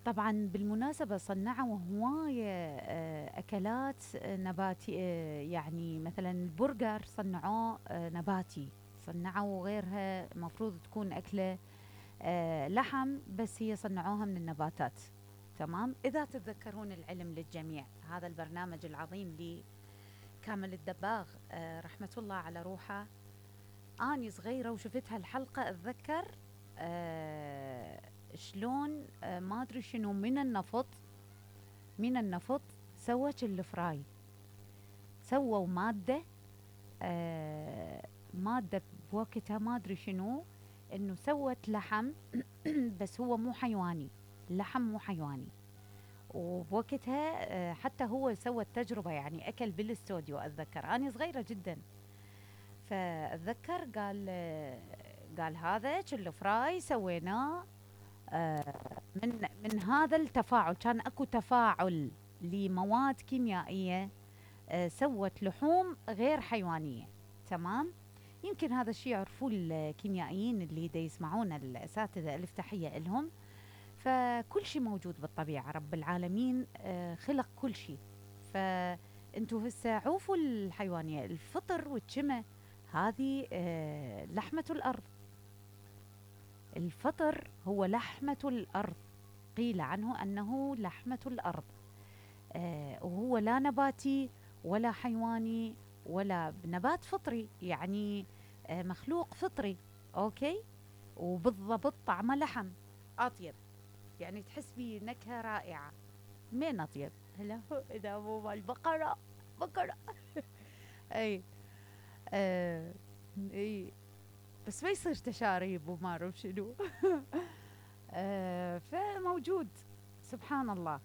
طبعا بالمناسبة صنعوا هواية أكلات نباتية، يعني مثلا البرجر صنعوه نباتي، صنعوا غيرها مفروض تكون أكلة لحم، بس هي صنعوها من النباتات. تمام. إذا تتذكرون العلم للجميع، هذا البرنامج العظيم لكامل الدباغ رحمة الله على روحه، أني صغيرة وشفت هالحلقة أتذكر شلون ما أدري شنو من النفط سوت الفراي، سووا مادة بوقتها ما أدري شنو، إنه سوت لحم بس هو مو حيواني، اللحم مو حيواني. وبوقتها حتى هو سوى التجربة، يعني أكل بالاستوديو، أتذكر أنا صغيرة جدا. فأتذكر قال هذا كله فراي سويناه من هذا التفاعل، كان اكو تفاعل لمواد كيميائية سوت لحوم غير حيوانية. تمام. يمكن هذا الشيء يعرفوه الكيميائيين اللي دا يسمعون، الأساتذة ألف تحية لهم. فكل شيء موجود بالطبيعة، رب العالمين خلق كل شيء. فانتوا هسه عوفوا الحيوانية، الفطر والجمة هذه لحمة الأرض. الفطر هو لحمة الأرض، قيل عنه أنه لحمة الأرض. وهو لا نباتي ولا حيواني ولا نبات، فطري يعني مخلوق فطري. أوكي. وبالضبط طعمه لحم أطيب، يعني تحس بيه نكهة رائعة. من أطيب هلا إذا مو مال البقرة، بقرة. أي اي، بس ما يصير تشاريب وما اعرف شنو. فموجود. سبحان الله.